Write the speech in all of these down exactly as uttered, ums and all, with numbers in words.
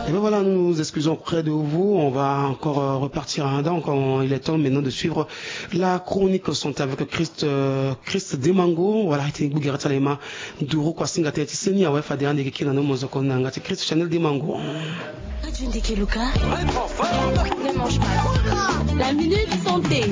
Et bien voilà, nous nous excusons auprès de vous. On va encore euh, repartir hein, donc il est temps maintenant de suivre la chronique santé avec Christ Christ Demango. Voilà, ete gbugera ti ala ema nduru kua singa tene ti seni awe fade ande keke na nomo zoko na nga ti Christ Chanel Demango. La minute santé.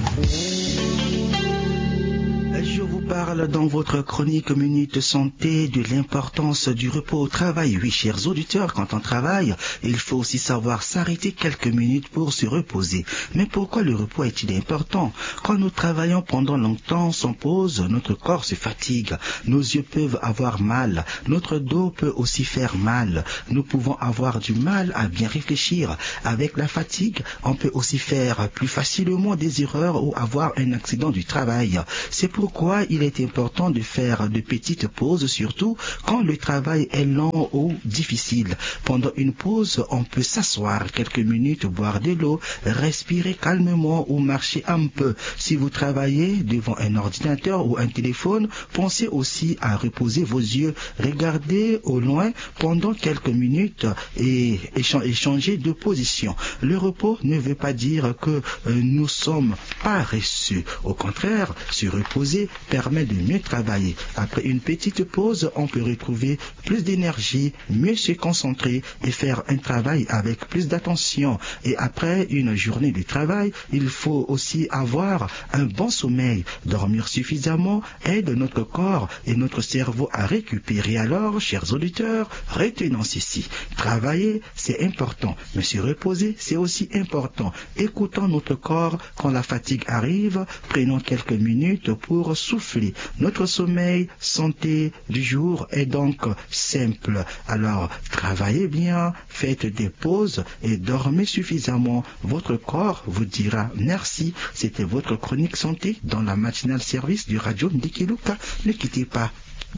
Je vous parle dans votre chronique Minute Santé de l'importance du repos au travail. Oui, chers auditeurs, quand on travaille, il faut aussi savoir s'arrêter quelques minutes pour se reposer. Mais pourquoi le repos est-il important ? Quand nous travaillons pendant longtemps sans pause, notre corps se fatigue. Nos yeux peuvent avoir mal. Notre dos peut aussi faire mal. Nous pouvons avoir du mal à bien réfléchir. Avec la fatigue, on peut aussi faire plus facilement des erreurs ou avoir un accident du travail. C'est pourquoi il est important de faire de petites pauses, surtout quand le travail est long ou difficile. Pendant une pause, on peut s'asseoir quelques minutes, boire de l'eau, respirer calmement ou marcher un peu. Si vous travaillez devant un ordinateur ou un téléphone, pensez aussi à reposer vos yeux. Regardez au loin pendant quelques minutes et, et changer de position. Le repos ne veut pas dire que euh, nous sommes paresseux. Au contraire, se reposer permet de mieux travailler. Après une petite pause, on peut retrouver plus d'énergie, mieux se concentrer et faire un travail avec plus d'attention. Et après une journée de travail, il faut aussi avoir un bon sommeil. Dormir suffisamment aide notre corps et notre cerveau à récupérer. Alors, chers auditeurs, retenons ceci. Travailler, c'est important, mais se reposer, c'est aussi important. Écoutons notre corps quand la fatigue arrive, prenons quelques minutes pour souffler. Notre sommeil, santé du jour est donc simple. Alors, travaillez bien, faites des pauses et dormez suffisamment. Votre corps vous dira merci. C'était votre chronique santé dans la matinale service du Radio Ndikiluka. Ne quittez pas.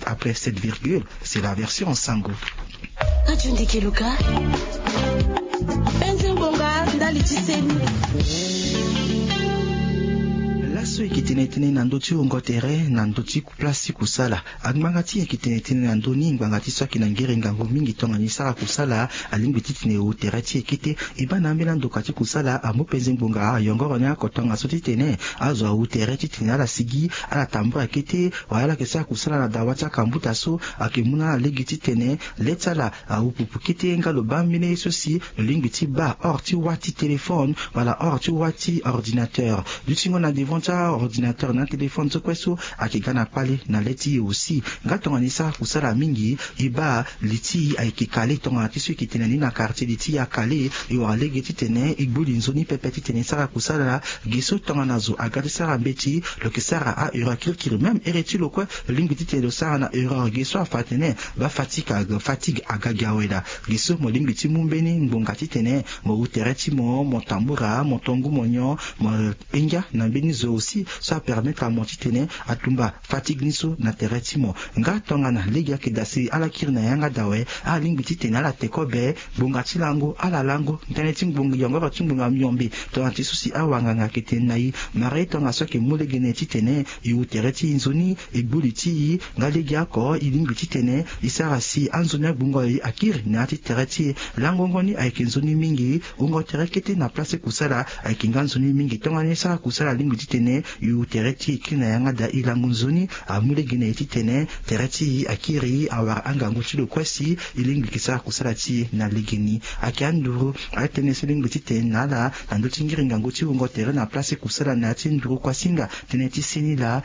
Après cette virgule, c'est la version en sango. Radio Ndikiluka. Penze ngonga ndali ti seni. Laso e yeke tene tënë na ndö ti wungo tere na ndö ti place ti kusala. Angbanga ti e yeke tene tënë na ndö ni ngbanga ti so ayeke na ngere ngangu mingi tongana e sara kusala alingbi titene e wu tere ti e kete. E baa na ambeni andoka ti kusala amu penze ngbonga ayongoro ni oko tongaso titene azo awu tere titene ala sigi ala tambula kete. Wala ala yeke sara kusala na dawa ti akambuta so ayeke mu na ala lege titene le ti ala awu pupu kete nga lo baa ambeni ye so si lo lingbi ti baa hors ti wâ ti téléphone wala hors ti wâ ti ordinateur. Dutingo na devant ti aordinateur na atéléphone so kue so ayeke ga na kpale na le ti e aussi. Nga tongana e sara kusala mingi e baa li ti e ayeke kale tongana ti so e yeke tene ni na quartier li ti e akale. E wara lege titene e gbu li nzoni pepe titene e sara kusala. Ge so tongana zo aga ti sara mbeti lo yeke sara aheure kirikiri même ere ti lo kue. Lo lingbi titene lo sara na erreur ge so afa atene baa fatigue aga gi awe laa. Ge so mo lingbi ti mu mbeni ngbonga titene mo wu tere ti mo mo tambura mo tongu mo nyon mo hinga na mbeni zo aussi so apermettre amo titene atumba fatigue ni so na tere ti mo. Nga tongana lege ayeke dasiri ala kiri na yanga dawe ala lingbi titene ala te kobe ngbonga ti lango ala lango tënë ti ngbonga yongoro ti ngbonga miombe. Tongana ti so si awanganga ayeke tene na e mara e tongaso ayeke mu lege na e titene e wu tere ti e nzoni e gbu li ti e. Nga lege oko e lingbi titene e sara si anzoni agbongo akiri na ya ti tere ti e. Langongo ni ayeke nzoni mingi. Wungo tere kete na place ti kusala ayeke nga nzoni mingi tongana e sara kusala alingbi titene e wu tere ti e kiri na yanga daa e lango nzoni. Amu lege na e titene tere ti e akiri awara angangu ti lo kue si e lingbi yeke sara kusala ti e na legeni. Ayeke anduru atënë so e lingbi titene na ala na ndö ti ngiri ngangu ti wungo tere na place ti kusala na ya ti nduru kuasinga. Tënë ti seni laa.